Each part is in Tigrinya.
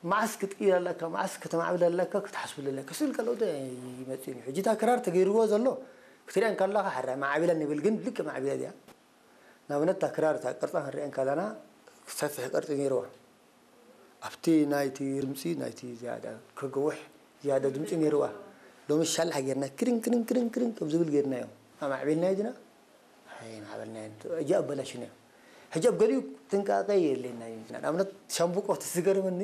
መዓስ ክትቅይር ኣለካ፣ መዓስ ከተማዕብል ኣለካ፣ ክትሓስብሉ ኣለካ። ስል ካልኦት ኣይመጽእን እዩ። ሕጂ እታ ክራር ተገይርዎ ዘሎ ክትሪኣ እንከለኻ፣ ሕራይ ማዕቢላ ንብል፣ ግን ልክዕ ማዕቢላ ድያ? ንኣብነት እታ ክራር እታ ቅርጻ ክንሪኣ እንከለና ሰፊሕ ቅርጺ ነይርዋ። ኣብቲ ናይቲ ድምጺ ናይቲ ዝያዳ ከገውሕ ዝያዳ ድምጺ ነይርዋ። ሎሚ ሻላሕ ጌርና ክርን ክርን ክርን ክርን ከም ዝብል ጌርናዮ። ኣማዕቢልናዮ ዲና? ኣይማዕበልናዮን። ሕጂ ኣበላሽናዮ። ሕጂ ኣብ ገሊኡ ጥንቃቐ የድልየና እዩ። ንኣብነት ሻምብቆ እቲ ዝገርመኒ፣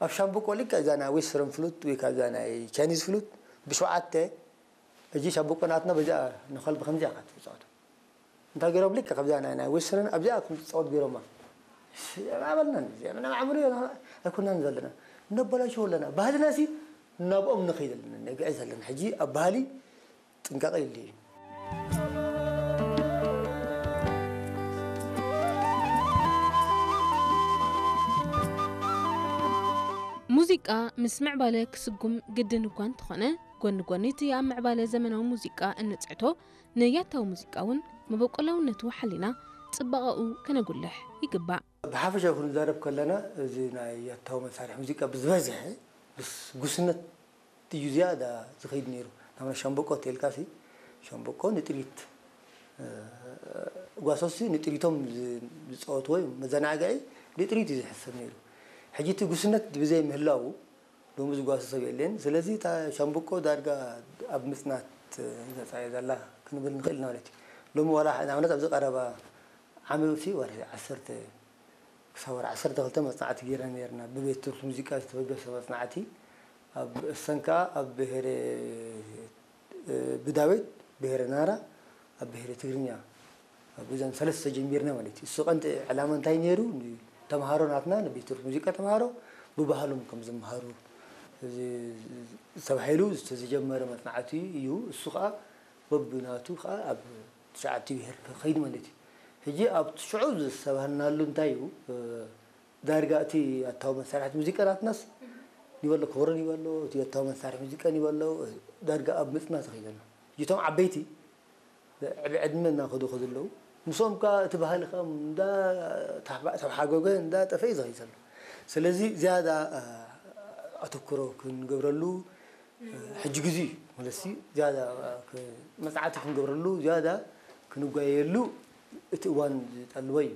ኣብ ሻምብቆ ልክዕ እዛ ናይ ዌስተርን ፍሉት ወይ ካብ እዛ ናይ ቻይኒዝ ፍሉት ብሸውዓተ፣ ሕጂ ሻምብቆ ናትና በዚኣ ንኸልቢ ከምዚኣ ኢኻ ትጻወቶ። እንታይ ገይሮም ልክዕ ከምዚኣ ናይ ናይ ዌስተርን ኣብዚኣ ከም ትጻወት ገይሮማ። ኣበልናን እዚኣ ምናምን ዓምሩ ኣይኮናን ዘለና። ነበላሽዎ ኣለና። ባህልና ሲ ናብኦም ንኸይድ ኣለና፣ ነግዕዝ ኣለና። ሕጂ ኣብ ባህሊ ጥንቃቐ የድልዮ እዩ። ሙዚቃ ምስ ምዕባለ ክስጉም ግድን እኳ እንተኾነ፣ ጎኒ ጎኒ እቲ ኣብ ምዕባለ ዘመናዊ ሙዚቃ እንጽዕቶ ንያታዊ ሙዚቃ እውን መበቆላውነቱ ሓሊና ጽባቐኡ ከነጉልሕ ይግባእ። ብሓፈሻ ክንዛረብ ከለና፣ እዚ ናይ ያታዊ መሳርሒ ሙዚቃ ብዝበዝሐ ምስ ጉስነት እዩ ዝያዳ ዝኸይድ ነይሩ። ናብና ሻምበቆ ተልካሲ፣ ሻምበቆ ንጥሪት፣ እ፣ ጓሶሲ ንጥሪቶም ዝ-፣ ዝፃወትዎ እዩ። መዘናግዒ ንጥሪት እዩ ዝሕሰብ ነይሩ። ሕጂ እቲ ጉስነት ብዘይ ምህላዉ ሎሚ ዝጓሶ ሰብ የለን። ስለዚ እታ ሻምበቆ ዳርጋ ኣብ ምፅናት መፃ እያ ዘላ ክንብል ንኽእል ኢና ማለት እዩ። ሎሚ ዋላ ንኣብነት ኣብዚ ቀረባ ዓመት ሲ ወርሒ ዓሰርተ ክሳብ ወርሒ ዓሰርተ ክልተ መፅናዕቲ ገይርና ነይርና። ብቤት ትምህርቲ ሙዚቃ ዝተበገሰ መፅናዕቲ ኣብ እሰን ከዓ ኣብ ብሄረ፣ እ፣ ብዳዊት ብሄረ ናራ ኣብ ብሄረ ትግርኛ ኣብ እዘን ሰለስተ ጀሚርና ማለት እዩ። እሱ ቀንዲ ዕላማ እንታይ ነይሩ? ተምሃሮ ናትና ንቤት ትምህርቲ ሙዚቃ ተምሃሮ ብባህሎም ከም ዝምሃሩ እዚ ተባሂሉ ዝተጀመረ መፅናዕቲ እዩ። እሱ ከዓ በብናቱ ከዓ ኣብ ትሽዓተ ብሄር ክኸይድ ማለት እዩ። ሕጂ ኣብ ሽዑ ዝሰባህልናሉ እንታይ እዩ? እ፣ ዳርጋ እቲ ኣታዊ መሳርሕቲ ሙዚቃ ናትናስ ኒበሎ፣ ኮረን ይበሎ፣ እቲ ኣታዊ መሳርሒ ሙዚቃ ኒበሎ፣ ዳርጋ ኣብ ምፅና ተኸይድ ኣሎ። እቶም ዓበይቲ ብዕድመ እናኸዱ ከ ዘለዉ፣ ምስኦም ከ እቲ ባህሊ ከ እንዳ ተሓባ-፣ ተሓጎገ እንዳ ጠፈ እዩ ዝኸይድ ዘሎ። ስለዚ ዝያዳ፣ እ፣ ኣተኩሮ ክንገብረሉ፣ እ፣ ሕጂ ግዜ እዩ። ማለት ሲ ዝያዳ፣ እ፣ ክ-፣ መፅናዕቲ ክንገብረሉ፣ ዝያዳ ክንጓየየሉ እቲ እዋን ዝጠልቦ እዩ።